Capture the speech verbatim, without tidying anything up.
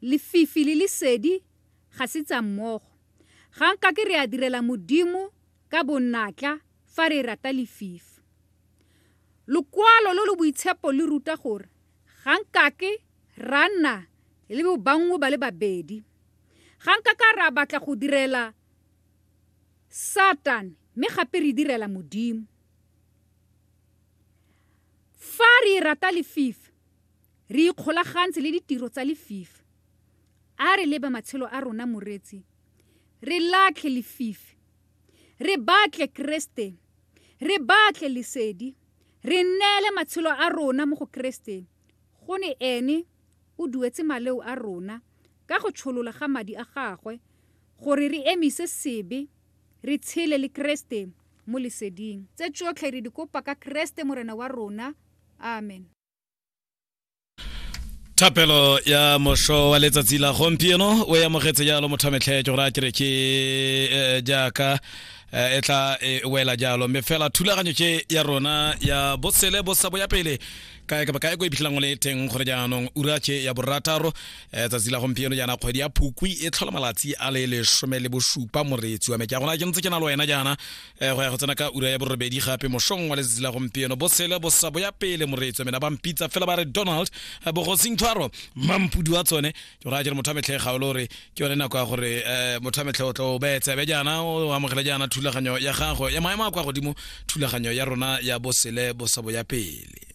Lefifi le lesedi ga se tsa mmogo. Ga nkake re a direla Modimo ka bonatla fa re rata lefifi. Lokwalo lo lo boitshepo le ruta gore ga nkake ra nna le bobangwe ba le babedi. Ga nkaka ra batla go direla Satane mme gape re direla Modimo. Fa re rata lefifi, re ikgolagantse le ditiro tsa lefifi. A re lebe matshelo a rona moreetsi, re latlhe lefifi, re batle Kreste, re batle lesedi, re neele matshelo a rona mo go Kreste, gonne ene o duetse maleo a rona ka go tsholola ga madi a gagwe gore re emise sebe, re tshele le Kreste mo leseding. Tse tsotlhe re di kopa ka Kreste Morena wa rona. Amen. Thapelo ya mosho wa letsatsi la gompieno o e amogetse jalo motho wa metlhe ke gore a kere ke eh, jaaka eh, e tla e wela jalo mme fela thulaganyo ke ya rona ya bosele bosabo ya pele kae kapa kae ko e phitlhelang o le teng gore jaanong ura ke ya borataro eh, tsatsi la gompieno jaana kgwedi ya Phukwi e tlhola malatsi a le lesome le bosupa moreetsi wa me ke a gona ke ntse ke na le wena jaana eh, go ya go tsena ka ura ya borobedi gape mošong wa letsatsi la gompieno bosele bosabo ya pele moreetsi wa me na ba mpitsa fela ba re Donald eh, bogosing tshwaro mampudi wa tsone ke gore a kere motho wa metlhe ga o le gore ke yone nako ya gore eh, motho wa metlhe o tla o beye tsebe jaana o amogele jaana thulaganyo ya gago ya maemo a kwa godimo thulaganyo ya rona ya bosele bosabo ya pele.